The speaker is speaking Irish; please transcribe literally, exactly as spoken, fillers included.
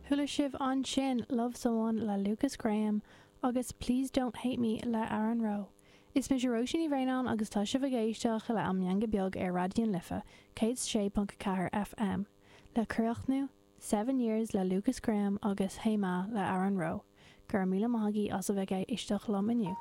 Chuala sibh ansin Love Someone le Lukas Graham agus Please Don't Hate Me le Aaron Rowe. Is mise Róisín Ní Bhraonáin agus tá sibh ag éisteacht le An Meangadh Beag ar Raidió na Life, céad sé ponc ceathair FM, le críochnú Seven Years le Lukas Graham agus Hey Ma le Aaron Rowe. Gur míle maithagaí as a bheith ag éisteacht liom inniu.